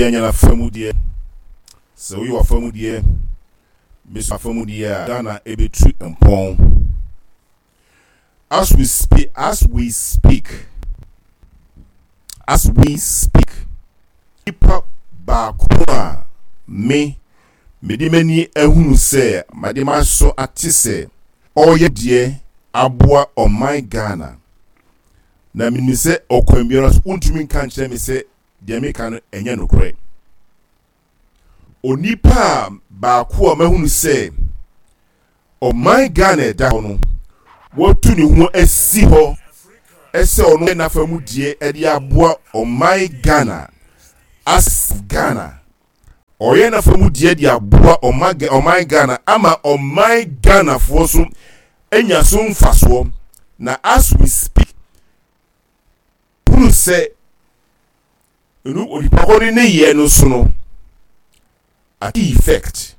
Obiara nyɛ n'afa mu deɛ. Sɛ woyɛ w'afa mu deɛ, me nso m'afa mu deɛ a, Ghana ɛbɛtu mpɔn. As we speak, as we speak, as we speak, nipa baako a me mede m'ani ahunu sɛ mede m'aso ate sɛ ɔreyɛ deɛ aboa ɔman Ghana na menim sɛ ɔkwan biara so wontumi nka nkyerɛ me sɛ deɛ meka no ɛnyɛ nokorɛ. Onipa a baako a mahunu sɛ ɔman Ghana ɛda hɔ no, watu ne ho asi hɔ sɛ ɔno yɛ n'afa mu deɛ ɛde aboa ɔman Ghana as Ghana. Ɔyɛ n'afa mu deɛ de aboa ɔman Ghana ama ɔman Ghanafoɔ so anya so mfasoɔ. Na as we speak, hunu sɛ ɛnu onipa kɔ ne nneyɛɛ no so no ate effect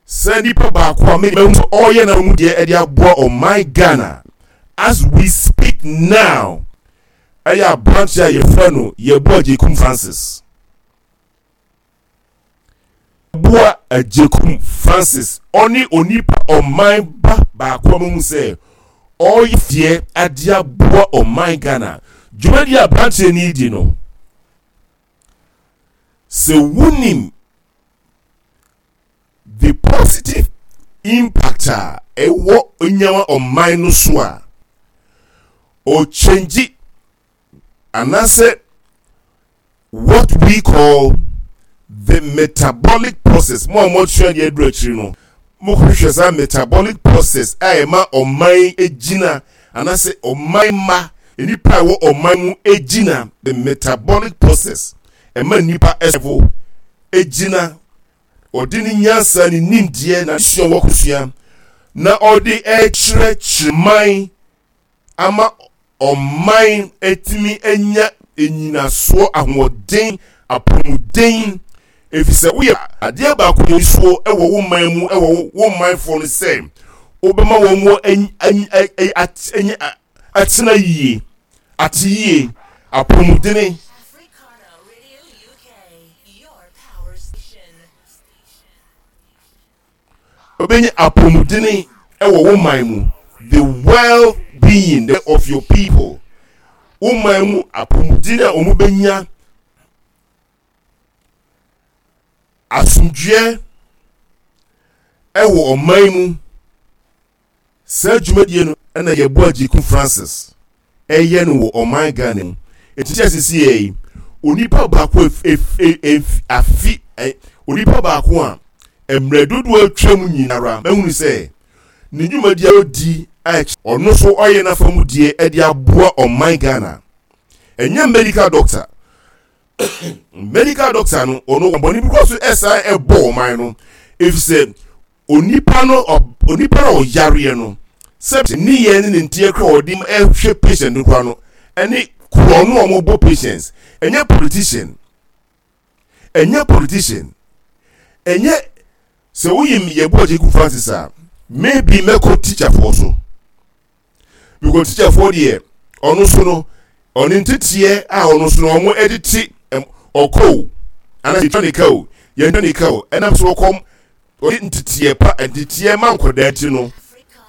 sɛ nipa baako a mɛhu sɛ ɔreyɛ na mu deɛ ɛde aboa ɔman Ghana as we speak now ɛyɛ aberanteɛ a yɛfrɛ no Yeboah Agyekum Francis. Boa Agyekum Francis, ɔne onipa ɔman ba baako a mahu sɛ ɔreyɛ deɛ ade aboa ɔman Ghana. Dwumadi a aberanteɛ no redi no, sɛ wonim the positive impact a ɛwɔ nyawa ɔman no so a, ɔkyɛngyi anaasɛ what we call the metabolic process mo a moasua deɛ aduru akyiri no mokɔhwehwɛ saa metabolic process a ɛma ɔman gyina anaasɛ ɔman mma nnipa a ɛwɔ ɔman mu gyina the metabolic process ɛma nnipa ɛsɛfo gyina ɔde ne nyansa ne nimdeɛ na sua wɔkosua na ɔde ɛkyerɛkyerɛ man ama ɔman atumi anya nnyinasoɔ, ahoɔden, apɔmuden, ɛfiri sɛ woyɛ adeɛ baako yɛ nsuo wɔ wo man mu wɔ wo manfoɔ no sɛ wobɛma wɔn mu atena yie, ate yie, apɔmudene. Wobɛnya apɔmudene wɔ wo man mu, the well being of your people. Wo man mu apɔmudene a wɔbɛnya, asomdwoeɛ wɔ ɔman mu. Saa dwumadie no na Yeboah Agyekum Francis ɛyɛ no wɔ ɔman Ghana mu. Eti kyɛ sisi yɛ yi, onipa baako afi onipa baako a mmerɛ dodoɔ atwa mu nyinara mahunu sɛ ne dwumadie a ɔdi a ɔno nso ɔyɛ n'afa mu deɛ ɛde aboa ɔman Ghana. Ɛnyɛ medical doctor. Medical doctor no ɔno bɔne bi kɔ so ɛsan ɛbɔ ɔman no efisɛ Onipa no onipa no a ɔyareɛ no sɛ ne yɛ ne ne nteɛ kora ɔde ɛhwɛ patient no kora no ɛne korɔ no a wɔbɔ patients ɛnyɛ politician ɛnyɛ politician ɛnyɛ sɛ woyi yɛbu Agyeku Francis a maybe mɛkɔ teacherfoɔ so because teacherfoɔ deɛ ɔno so no ɔne nteteɛ a ɔno so no ɔmo ɛde te ɔkɔ o anaa yɛtwa ne ka o yɛntwa ne ka o ɛnam so ɔkɔm ɔde nteteɛ pa nteteɛ ma nkɔdaa ti no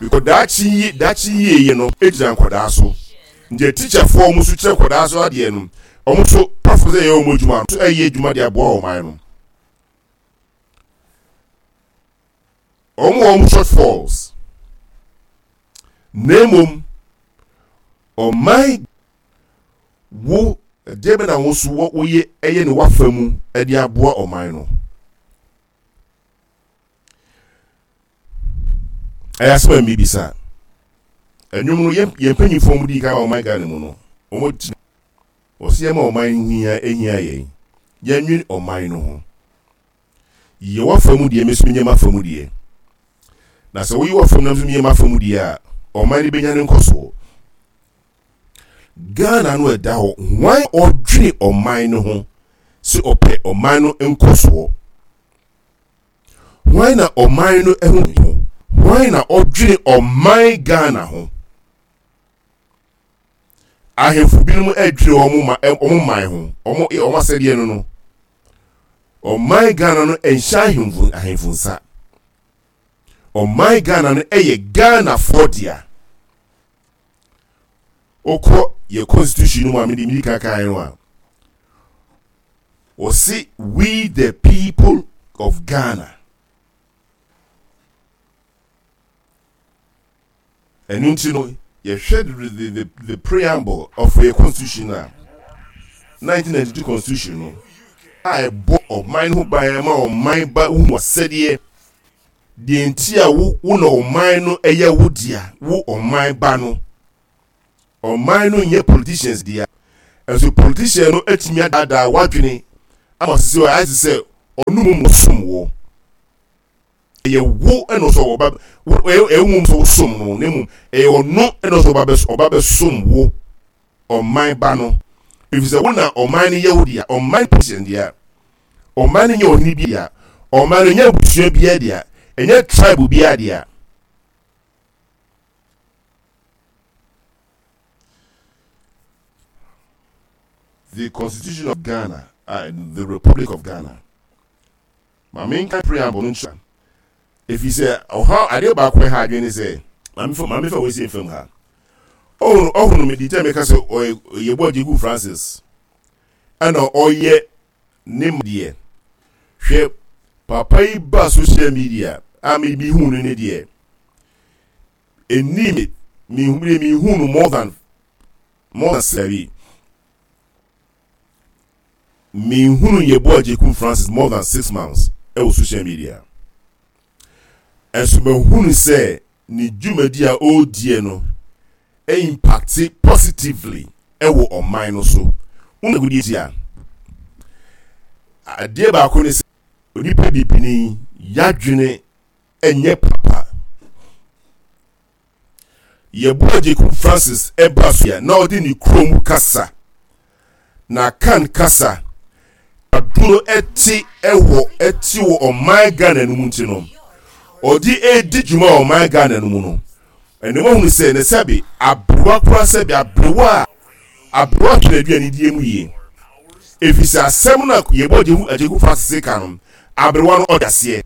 because daakye yi daakye yie yɛ no egyina nkɔdaa so nti teacherfoɔ ɔmo so kyerɛ nkɔdaa so adeɛ no ɔmo so pafo sɛ ɛyɛ ɔmo adwuma so ɛyɛ adwuma de aboa ɔman no wɔn wɔ wɔn shortfalls na mmom ɔman wo ɛdeɛ bɛ na wo nso woyɛ ɛyɛ ne wafa mu ɛde aboa ɔman no ɛyɛ asɛm a mebisa ɛnwom no yɛn yɛn mpanyinfoɔ mu di kan ɔman Ghana mu no wɔn gyina wɔsi yɛn ma ɔman no hia ehia yɛn yɛnwene ɔman no ho. Yɛ w'afa mu deɛ, me nso menyɛ m'afa mu deɛ. Na sɛ woyɛ w'afa mu na me nso meyɛ m'afa mu deɛ a, ɔman no bɛnya ne nkɔsoɔ. Ghana no ɛda hɔ, hwan ɔdwene ɔman no ho sɛ ɔpɛ ɔman no nkɔsoɔ? Hwan na ɔman no ho ho? Hwan na ɔdwene ɔman Ghana ho? Ahemfo binom ɛdwene wɔn man ho, wɔn asɛdeɛ no no. Ɔman Ghana no ɛnhyɛ ahemfo ahemfo nsa. Ɔman Ghana no ɛyɛ Ghanafoɔ dea. Wokɔ yɛ constitution no mu a mede medi kan kan no a, wɔse we the people of Ghana. Ɛno nti no, yɛhwɛ the, the, the, the preamble of yɛ constitution a 1992 constitution no a ɛbɔ ɔman ho ban ma ɔman ba hu asɛdeɛ deɛ nti a wo wo na ɔman no ɛyɛ wo dea wo ɔman ba no ɔman no nyɛ politicians dea ɛnso politician no atumi adaadaa wadwene ama sisi ayɛ te sɛ ɔno mu mo som wɔ ɛyɛ wo ɛna ɔsɛ ɔba ɛyɛ wo sɛ wosom no na mmom ɛyɛ ɔno ɛna ɔsɛ ɔba bɛ ɔba bɛsom wo ɔman ba no efisɛ wo na ɔman no yɛ wo dea ɔman position dea ɔman no nyɛ ɔhene bi dea ɔman no nyɛ abusua biara dea ɛnyɛ tribe biara dea. The Constitution of Ghana, uh, the Republic of Ghana. Ma menka preamble no nkyerɛ ɛfiri sɛ ɔhaw adeɛ baako ɛha adwene ne sɛ maame fa maame fa wɔsi mfam ha ɔhono ɔhono me di tɛ meka sɛ ɔyɛ yɛbɔ agyeku Francis ɛna ɔyɛ ne deɛ hwɛ papa yi ba social media a me bi hu no ne deɛ ɛni me me me hu no more than more than sɛbi Menhunu Yeboah Agyekum Francis more than 6 months ɛwɔ social media. Ɛnso mahunu sɛ ne dwumadi a ɔrediɛ no impact positively ɛwɔ ɔman no so. Wona ti a, adeɛ baako ne sɛ onipa bibini yadwene ɛnyɛ papa. Yeboah Agyekum Francis ɛba so a na ɔde ne kurom kasa na kan kasa aduro ɛte ɛwɔ ɛte wɔ ɔman Ghana no mu nti no ɔde ɛredi dwuma wɔ ɔman Ghana no mu no ɛna wɔn ahunu sɛ ne sɛbe aberewa koraa sɛbe aberewa a aberewa hwɛ n'aduane die mu yie efisɛ asɛm no a Yeboah Agyekum Francis ka no aberewa no ɔde aseɛ.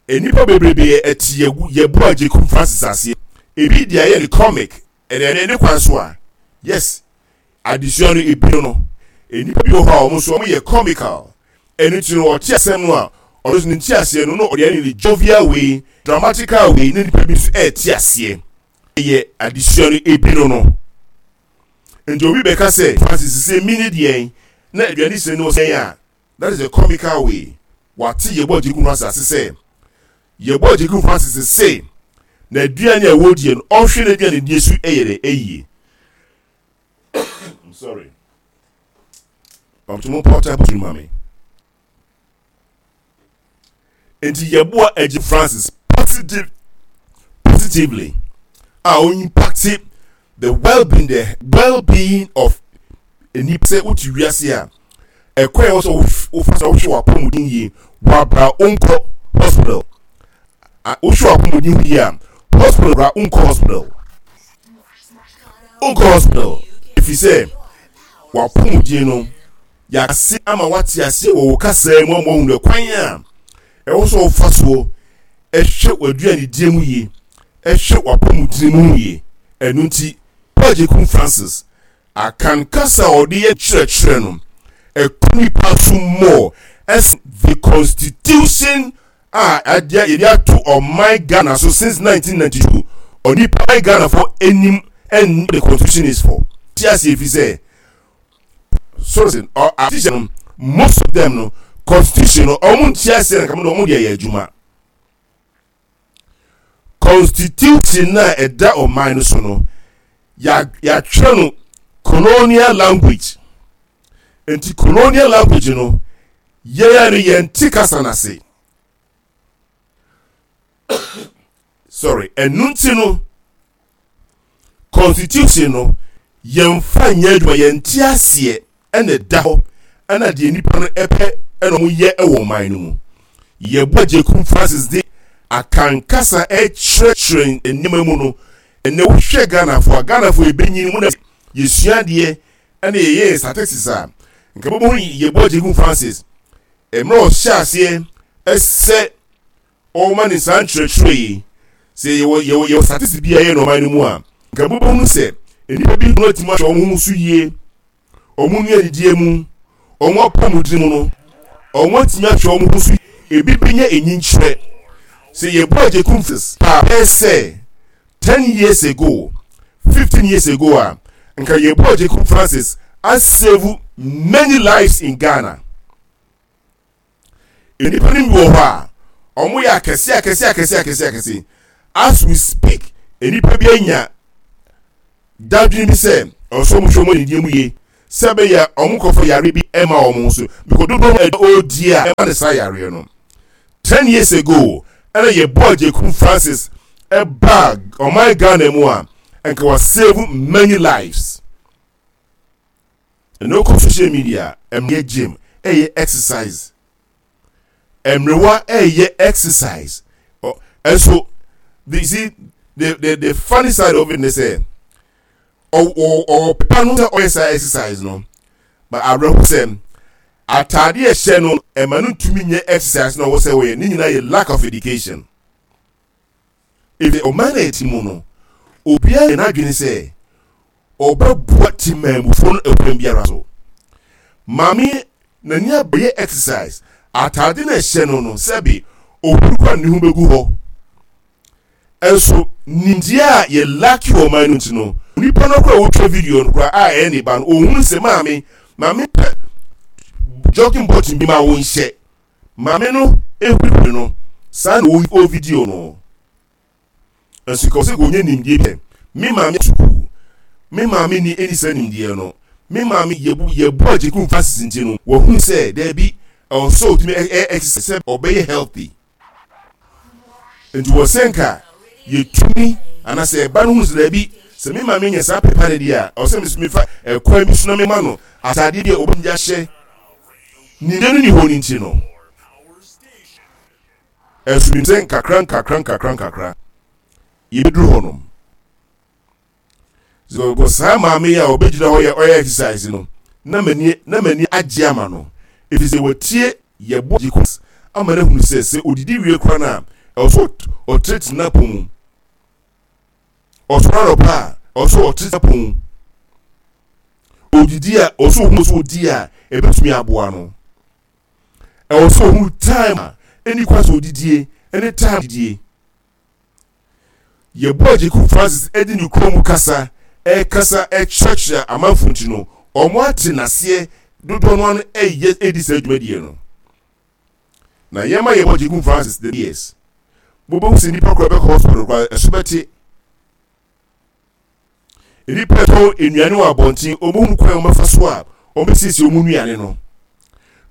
Nnipa bebrebe ɛte yɛgu yɛbu Agyekum Francis aseɛ. Ebi de ayɛ ne comic ɛna ɛne ne kwan so a yes adesua no ebi no no nnipa bi wɔ hɔ a wɔn nso wɔn yɛ comical ɛno ti no ɔte asɛm no a ɔno nso ne nti aseɛ no na ɔde ayɛ ne jovial way dramatical way na nnipa bi nso ɛte aseɛ ɛyɛ adesua no ebi no no nti obi bɛka sɛ Francis sɛ mi ne deɛn na aduane sɛ no sɛn a That is a comical way wate Yeboah Agyekum Francis ase sɛ Yeboah Agyekum Francis se n'aduane a wɔdie no ɔnhwɛ n'aduane die so yɛ dɛ ɛyie. I'm sorry. Pamto mo pɔta botiri ma me. Nti Yeboah Agyekum Francis positive positively a o impact the well-being the well-being of nnipa sɛ wote wiase a ɛkwan a ɛwɔ sɛ wofa sɛ wohwɛ w'apɔmuden yie wabra wonkɔ hospital wohwɛ w'apɔmuden ho yie a hospital bra wonkɔ hospital wonkɔ hospital ɛfiri sɛ w'apɔmuden no yɛase ama wate aseɛ wɔ wo kasaa mu ama woahunu ɛkwan a ɛwɔ sɛ wofa soɔ ɛhwɛ w'aduanedie mu yie ɛhwɛ w'apɔmuden mu yie ɛno nti Paul Agyekum Francis Akan kasa a ɔde yɛ kyerɛkyerɛ no, ɛkɔ nipa so more ɛsen the constitution a adeɛ yɛde ato ɔman Ghana so since 1992. Onipa man Ghana fo anim ɛnni the constitution is for. Ti ase efi sɛ sorry sɛ ɔ artisan no most of them no constitution no ɔmo nti ase na kama ɔmo de ɛyɛ adwuma. Constitution no a ɛda ɔman no so no, yɛatwerɛ no colonial language. Nti colonial language no, yɛn no yɛnte kasa no ase. Sorry, ɛno nti no, Constitution no yɛnfa nyɛ adwuma, yɛnte aseɛ ɛna ɛda hɔ ɛna deɛ nipa no ɛpɛ ɛna wɔn yɛ ɛwɔ ɔman no mu. Yɛbɔ Agyekum Francis de Akan kasa ɛkyerɛkyerɛ nneɛma mu no, ɛnɛ wohwɛ Ghanafoɔ a, Ghanafoɔ yɛbɛnyini mu na yɛsua adeɛ ɛna yɛyɛ statistics a, nka bɛbɛhu yɛbɔ Agyekum Francis. Mmerɛ ɔhyɛ aseɛ sɛ ɔrema ne saa nkyerɛkyerɛ yi, sɛ yɛwɔ yɛwɔ yɛwɔ statistics bi a ɛyɛ no ɔman no mu a, nka mobɛhunu sɛ nnipa bi no atumi ahwɛ wɔn ho so yie, wɔn nnuanidie mu, wɔn apɔmuden mu no, wɔn atumi ahwɛ wɔn ho so ebi bɛnya enyinkyerɛ. Sɛ yɛbɔ agyekum paa bɛyɛ sɛ 10 years ago, 15 years ago a, nka yɛbɔ agyekum Francis asave many lives in Ghana. Nnipa no bi wɔ hɔ a, wɔyɛ akɛse akɛse akɛse akɛse akɛse. As we speak, nnipa bi anya dadwene bi sɛ ɛwɔ sɛ wɔhwɛ wɔn anidie mu yie sɛ ɛbɛyɛ a wɔn nkɔfa yare bi ɛma wɔn ho so because dodoɔ no ɔredi a ɛma ne saa yareɛ no. 10 years ago ɛna yɛbɔɔ Agyekum Francis ɛbaa ɔman Ghana mu a nka wa save many lives. Ɛna okɔ social media ɛmɛ gym ɛyɛ exercise mmerewa ɛyɛ exercise ɛnso the see the the the funny side of it ne sɛ ɔwɔ pepa no sɛ ɔyɛ saa exercise no but awerɛho sɛ ataade ɛhyɛ no ɛma no ntumi nyɛ exercise na ɔwɔ sɛ ɔyɛ ne nyinaa yɛ lack of education. Efisɛ ɔman a yɛte mu no, obiara yɛ n'adwene sɛ ɔbɛboa temanmufoɔ no ɛkwan biara so. Maame n'ani abɛyɛ exercise, ataade na ɛhyɛ no no sɛbe ohuru kora ne ho bɛgu hɔ. Ɛnso nimdeɛ a yɛ laki wɔ ɔman no nti no, nipa no kora wotwa video no kora a ɛyɛ ne ba no, ohunu sɛ maame, maame pɛ jogging button bi ma wo nhyɛ. Maame no ehurihuri no, saa na ɔwɔ video no. Nso ka ɔsɛ ɔnyɛ nimdeɛ bi. Me maame sukuu. Me maame ni ɛni saa nimdeɛ no. Me maame yɛbu yɛbu agyekum Francis nti no, wahunu sɛ daabi ɛwɔ sɛ ɔtumi ɛ exercise sɛ ɔbɛyɛ healthy. Nti wɔ sɛ nka yɛtumi anaasɛ ɛba no hunu sɛ daabi sɛ me maame nya saa pepa no deɛ a, ɛwɔ sɛ mefa ɛkwan bi so na mema no ataadeɛ bi a ɔbɛtumi de ahyɛ. Nimdeɛ no nni hɔ no nti no, ɛso nim sɛ nkakra nkakra nkakra nkakra yɛbɛduru hɔnom. Because saa maame yi a ɔbɛgyina hɔ yɛ ɔyɛ exercise no, na m'ani na m'ani agye ama no, ɛfiri sɛ watie yɛbɔ gye kɔ ama no ahunu sɛ sɛ ɔdidi wie koraa no a, ɛwɔ sɛ ɔtenetene n'apɔ mu. Ɔsɔre anɔpa a, ɛwɔ sɛ ɔtenetene n'apɔ mu. Odidi a, ɛwɔ sɛ ohun sɛ odi a ebetumi aboa no. Ɛwɔ sɛ ohun time a ɛni kwan sɛ odidie ɛne time didie. Yɛbɔ Agyekum Francis ɛde ne kurom kasa ɛkasa ɛkyerɛkyerɛ amanfo nti no, wɔn ate n'aseɛ dodoɔ no ano ɛyɛ ɛdi saa dwumadie no. Na yɛma yɛbɔ Agyekum Francis the years. Mobɛhu sɛ nnipa koraa bɛkɔ hospital koraa ɛso bɛte. Nnipa ɛtɔn nnuane wɔ abɔnten, wɔn hunu kwan a wɔbɛfa so a wɔbɛsiesie wɔn nnuane no.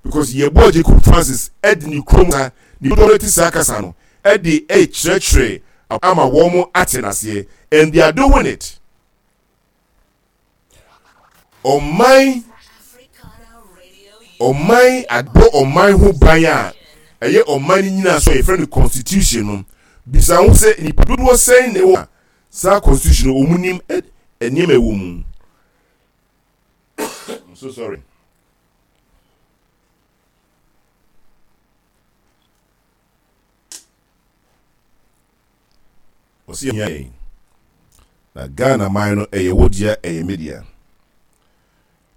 Because yɛbɔɔ Jacob Francis ɛde ne kurom sa, ne dodoɔ no te saa kasa no, ɛde ɛkyerɛkyerɛ ama wɔn ate n'aseɛ. And they are doing it. Ɔman ɔman abɔ ɔman ho ban a ɛyɛ ɔman no nyinaa so a yɛfrɛ no constitution no bisa ho sɛ nnipa dodoɔ sɛn na ɛwɔ Saa constitution no wɔn nim nneɛma ɛwɔ mu. I'm so sorry. Ɔsi yɛn yɛn na Ghana man no ɛyɛ wo dea ɛyɛ me dea.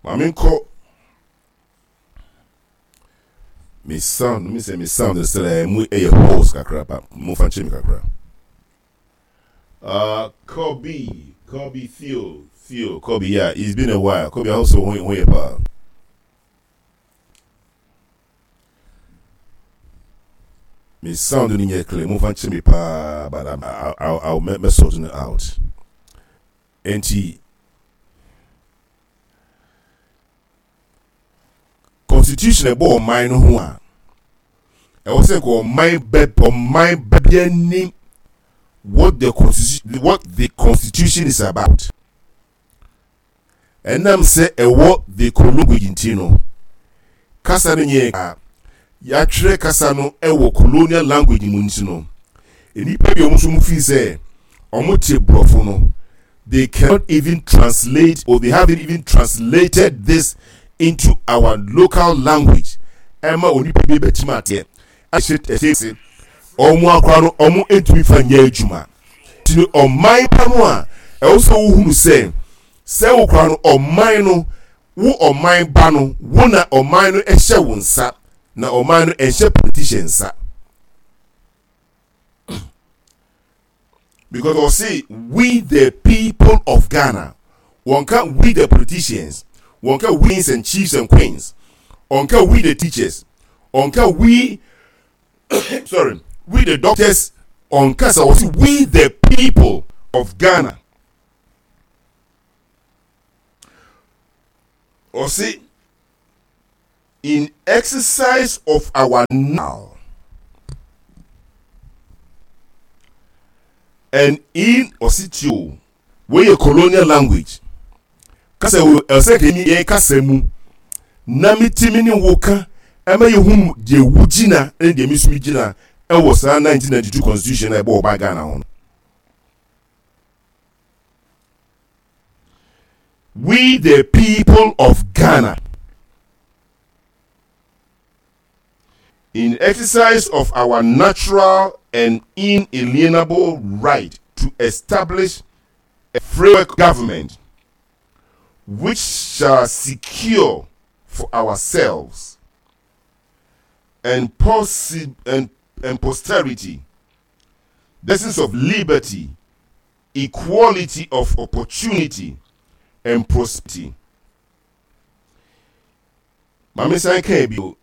Maame nkɔ me sound me sɛ me sound sɛ ɛmu ɛyɛ hoarse kakra ba mo fa nkyɛn mi kakra. Kobe, Kobe Theo, Theo, Kobe, yeah, it's been a while. Kobe, I hope so. Who you pa? Me sound no nyɛ clear. Mo fa nkyerɛ me paa, but I'm, I, I'll, I'll me sort it out. Enti Constitution ɛbɔ ɔman no ho a, ɛwɔ sɛ nka ɔman bɛ ɔman bɛ bi anim what the constitution what the constitution is about. Ɛnam sɛ ɛwɔ the language nti no, kasa no nyɛ a yɛatwerɛ kasa no ɛwɔ colonial language mu nti no, nnipa bi a wɔn nso fii sɛ wɔn te borɔfo no, they cannot even translate or they haven't even translated this into our local language. ɛma onipa bi bɛtumi ateɛ ahyɛ ɛhyɛ se wɔn akora no wɔn ntumi fa nyɛ adwuma ti no ɔman pa no a ɛwɔ sɛ wohunu sɛ sɛ wokora no ɔman no wo ɔman ba no wo na ɔman no ɛhyɛ wo nsa na ɔman no ɛnhyɛ politician nsa. Because ɔse we the people of Ghana, wɔnka we the politicians, wɔnka we kings and chiefs and queens, ɔnka we the teachers, ɔnka we sorry, we the doctors, ɔnka sɛ ɔse we the people of Ghana. Ɔse in exercise of our now and in ɔsi ti o wei yɛ colonial language kasa wo ɛsɛ kɛ ni yɛn kasa mu na mi ti mi ni wo ka ɛma yɛ hu deɛ wo gyina ɛne deɛ mi nso mi gyina ɛwɔ saa 1992 constitution a ɛbɔ ɔba Ghana ho no. We the people of Ghana, in exercise of our natural and inalienable right to establish a framework government which shall secure for ourselves and, possi- and, and posterity the essence of liberty, equality of opportunity and prosperity. Maame san kaa bio,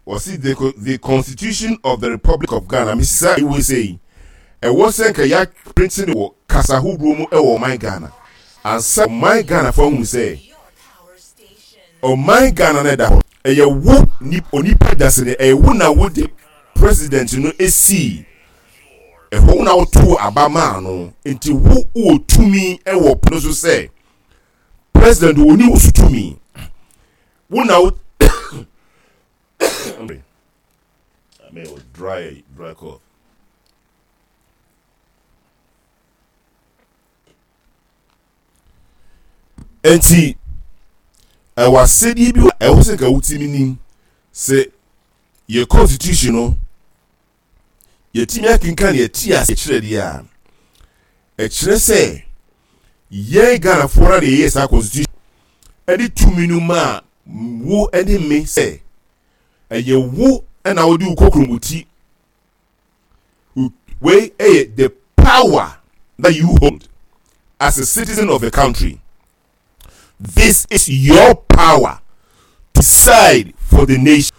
wɔsi the, the constitution of the Republic of Ghana, mesisa ewe sɛ yi, ɛwɔ sɛ nka yɛaprinti no wɔ kasa ahodoɔ mu ɛwɔ ɔman Ghana. Ansa ɔman Ghana fo ahunu sɛ ɔman Ghana no ɛda hɔ, ɛyɛ wo onipa dasani, ɛyɛ wo na wode president no esii Ɛhɔ na wotoo aba maa no, nti wo wɔ tumi wɔ pono so sɛ president ɔni wo so tumi. Wo na wo I mean, dry, dry cough. Nti, ɛwɔ asɛdeɛ bi a ɛwɔ sɛ nka wotumi nim sɛ yɛ constitution no yɛatumi akenkan yɛte ase kyerɛ deɛ a, ɛkyerɛ sɛ yɛn Ghanafoɔ no na yɛyɛ saa constitution ɛde tumi no maa wo ne me sɛ ɛyɛ wo na wode wo kokuromoti wei ɛyɛ the power that you hold as a citizen of a country. This is your power to decide for the nation,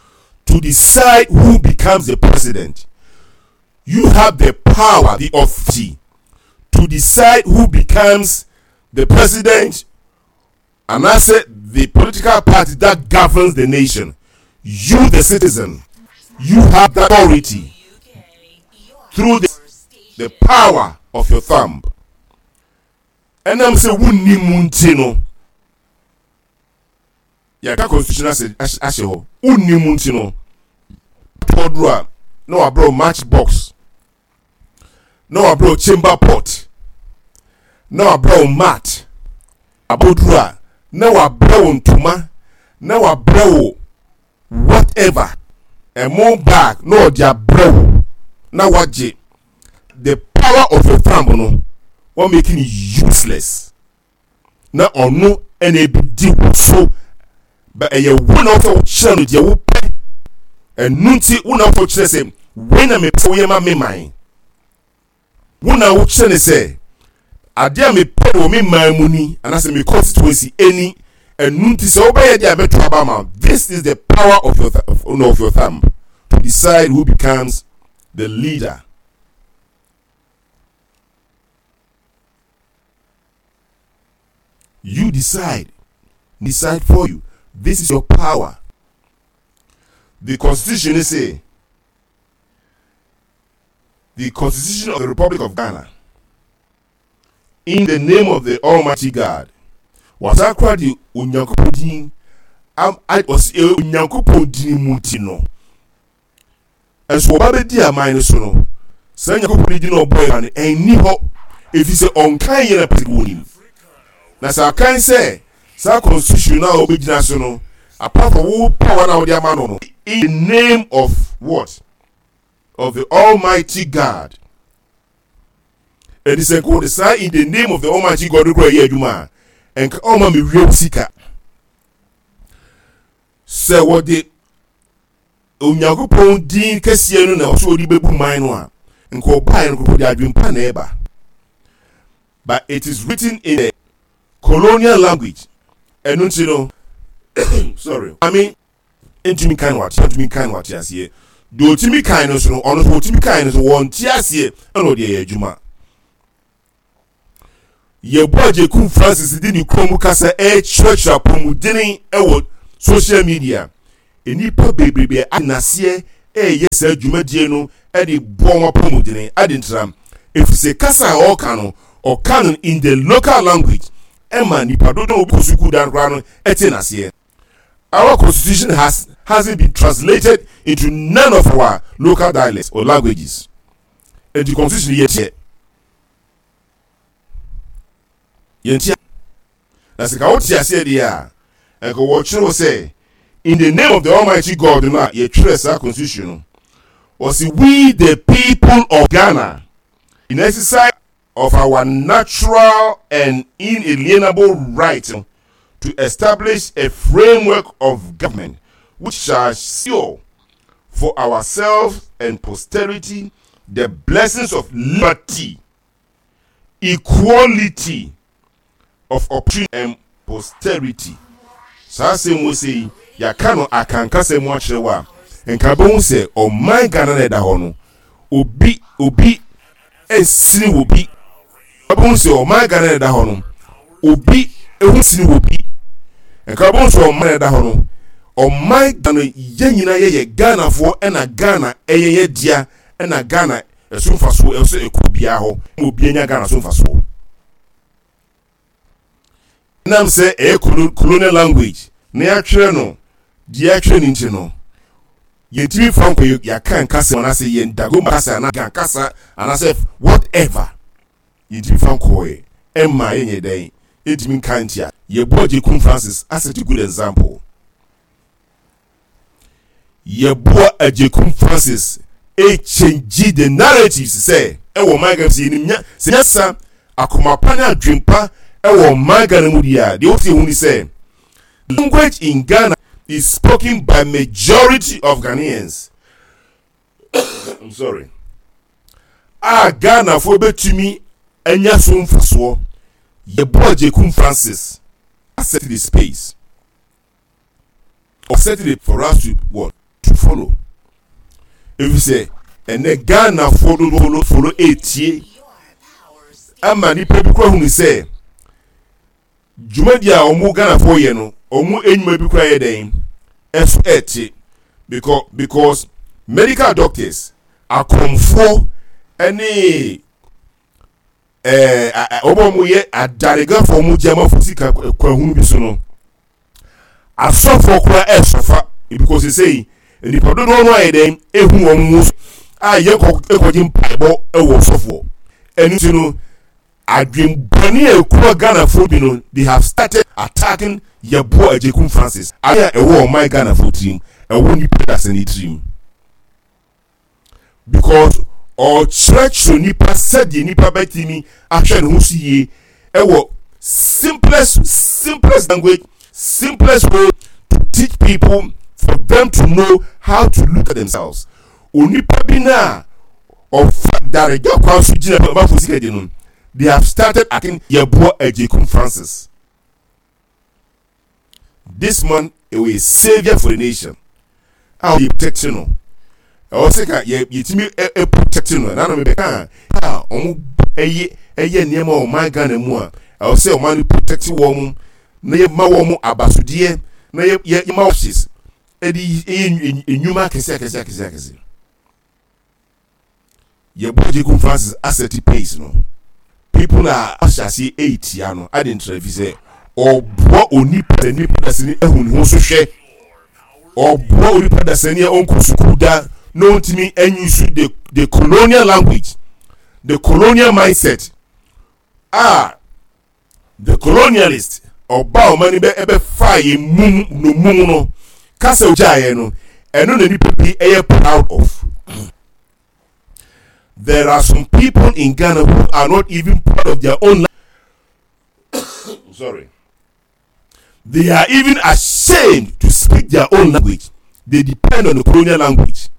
to decide who becomes the president. You have the power, the authority to decide who becomes the president and I said the political party that governs the nation. You, the citizen, you have that authority through the, the power of your thumb. Ɛnam sɛ wonni mu nti no, yɛaka constitution ase ahyɛ hɔ. Wonni mu nti no, tɔduro a na wabrɛ match box, na wabrɛ chamber pot, na wabrɛ mat, aboduro a na wabrɛ wo ntoma, na wabrɛ wo whatever, ɛmo bag na ɔde abrɛ wo na wagye. The power of your thumb no wɔn making it useless na ɔno ɛna ebi di wo so ba ɛyɛ wo na wɔsɛ wokyerɛ no deɛ wopɛ ɛnu nti wo na wɔsɛ wokyerɛ sɛ wei na mepɛ sɛ woyɛ ma me man wo na wokyerɛ ne sɛ adeɛ a mepɛ wɔ me man mu ni anaasɛ me constituency ɛni ɛnu nti sɛ wobɛyɛ deɛ a mɛto aba ma this is the power of your, of your thumb to decide who becomes the leader. You decide. Decide for you. This is your power. The constitution is say the constitution of the Republic of Ghana in the name of the Almighty God. Wasan kora de Onyankopɔn din ɔsi Onyankopɔn din mu ti no. Nso wɔba bɛdi aman no so no, saa Nyankopɔn no din a ɔbɔe ma no ɛnni hɔ, ɛfiri sɛ ɔnkan yɛn apɛsɛ bi wɔnim. Na sɛ akan sɛ saa constitution no a wɔbɛgyina so no, apart from wo power no a wode ama no no, In the name of what? Of the Almighty God. Ɛnti sɛ nka wɔde saa in the name of the Almighty God no kora yɛ adwuma a, nka ɔma me wia sika. Sɛ wɔde Onyankopɔn din kɛseɛ no na ɔsɛ ɔde bɛbu man no a, nka ɔbaeɛ no kɔkɔ de adwempa na ɛba. But it is written in the colonial language. Ɛno nti no, sorry, I ntumi nkan no wate ntumi nkan no wate aseɛ. Deɛ ɔtumi kan no so no, ɔno nso ɔtumi kan no so wɔnte aseɛ ɛna ɔde ɛyɛ adwuma. Yeboah Agyekum Francis de ne kurom kasa rekyerɛkyerɛ apɔmuden wɔ social media. Nnipa bebrebe ate n'aseɛ reyɛ saa dwumadie no de boa wɔn apɔmuden. Ade ntira, ɛfiri sɛ kasa a ɔreka no, ɔka no in the local language ɛma nnipa dodoɔ a wɔkɔ sukuu dan koraa no te n'aseɛ. Our constitution has hasn't been translated into none of our local dialects or languages. Enti constitution yɛ teɛ. Yɛnti na sɛ ka wote aseɛ deɛ a, ɛnka wɔkyerɛw sɛ in the name of the almighty God no a yɛtwerɛ saa constitution no, wɔsi we the people of Ghana in exercise of our natural and inalienable right to establish a framework of government which shall secure for ourselves and posterity the blessings of liberty, equality of opportunity and posterity. Saa asɛm wɔ sɛ yi, yɛaka no akankasa mu akyerɛ wo a, nka bɛhu sɛ ɔman Ghana na ɛda hɔ no, obi obi nsini wɔ bi. Wobɛhu sɛ ɔman Ghana na ɛda hɔ no, obi ho sini wɔ bi. Nka wobɛhu sɛ ɔman na ɛda hɔ no, ɔman Ghana yɛn nyinaa yɛyɛ Ghanafoɔ ɛna Ghana ɛyɛ yɛ dea ɛna Ghana ɛso mfasoɔ ɛwɔ sɛ ɛkɔ obiara hɔ ma obiara nya Ghana so mfasoɔ. Ɛnam sɛ ɛyɛ colonial language na yɛatwerɛ no deɛ yɛatwerɛ no nti no, yɛntumi mfa nkɔ yɛaka nkasa mu anaasɛ yɛn Dagomba kasa anaa Ga kasa anaasɛ whatever yɛntumi mfa nkɔɛ ɛmma yɛnyɛ dɛn yɛntumi nka ntia. Yɛbɔ Agyekum Francis as such a good example. Yeboah Agyekum Francis ɛrekyɛngyi the narratives sɛ ɛwɔ ɔman Ghana sɛ yɛnim nya sɛ nyansa akoma pa ne adwempa ɛwɔ ɔman Ghana mu deɛ a deɛ wosi ehu ni sɛ language in Ghana is spoken by majority of Ghanaians I'm sorry a Ghanafoɔ bɛtumi anya so mfasoɔ. Yeboah Agyekum Francis asset the space. Ɔset it for us to what? To follow. Efisɛ ɛnɛ Ghanafoɔ dodoɔ follow follow etie ama nipa bi kura hunu sɛ dwumadi a wɔn Ghanafoɔ yɛ no wɔn enyuma bi kura yɛ dɛn ɛso ɛte because because medical doctors akɔmfoɔ ɛne ɛɛ wɔn a wɔyɛ adaregafo wɔn gye amafo sika kwahunu bi so no asɔfoɔ koraa ɛresɔfa because sesei nipa dodoɔ no ayɛ dɛn ehu wɔn ho a yɛ kɔ ekɔgye mpaebɔ ɛwɔ sɔfoɔ ɛno ti no adwembɔne a ekura Ghanafoɔ bi no they have started attacking Yeboah Agyekum Francis a ɛwɔ ɔman Ghanafoɔ tirim ɛwɔ nipa dasani tirim. because ɔkyerɛkyerɛ nipa sɛdeɛ nipa bɛtumi ahwɛ ne ho so yie ɛwɔ simplest simplest language simplest way to teach people for them to know how to look at themselves onipa bi na ɔfa daregya kwan so gyina ɔbafo sika di no they have started acting Yeboah Agyekum Francis. This man ɔyɛ saviour for the nation a ɔyɛ protect no ɛwɔ sɛ ka yɛ yɛtumi ɛ protect no ɛna no mebɛka a wɔn ɛyɛ ɛyɛ nneɛma wɔ ɔman Ghana mu a ɛwɔ sɛ ɔman no protect wɔn na yɛ ma wɔn abasodeɛ na yɛ yɛ ma wɔn ɛde ɛyɛ nnwuma akɛse akɛse akɛse akɛse. Yɛbɔ Agyekum Francis asɛte pace no, people a ahyɛ aseɛ ɛretia no ade ntra fi sɛ ɔboa onipa sɛ nipa dasani ahu ne ho so hwɛ. Ɔboa onipa dasani a ɔnkɔ sukuu da na ɔntumi anyusu the, the colonial language, the colonial mindset a The colonialist ɔba ɔman no bɛ ɛbɛfaa yɛn mum nnommum no kasa ogyaeɛ no. Ɛno na nipa bi ɛyɛ proud of. There are some people in Ghana who are not even proud of their own sorry. They are even ashamed to speak their own language. They depend on the colonial language.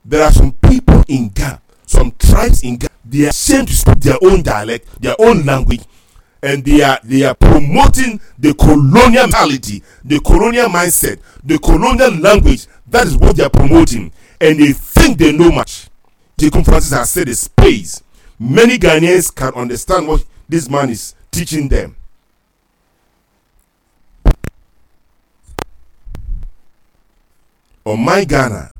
There are some people in Ghana, some tribes in Ghana, they are ashamed to speak their own dialect, their own language, and they are they are promoting the colonial mentality, the colonial mindset, the colonial language. That is what they are promoting, and they think they know much. Jacob Francis has said a space. Many Ghanaians can understand what this man is teaching them. Ɔman Ghana,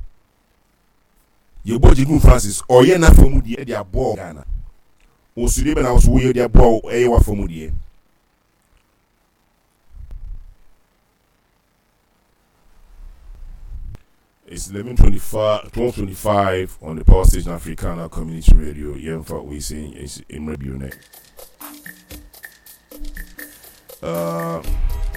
yɛbɔ Agyekum Francis, ɔyɛ n'afa mu deɛ de aboa Ghana. Wo nso deɛ bɛ na wo nso woyɛ de aboa wo ɛyɛ w'afa mu deɛ. It's 11:25, 12:25 on the Power Station Africana Community Radio. Yɛmfa wei sɛ mmerɛ bio nɛ. Uh,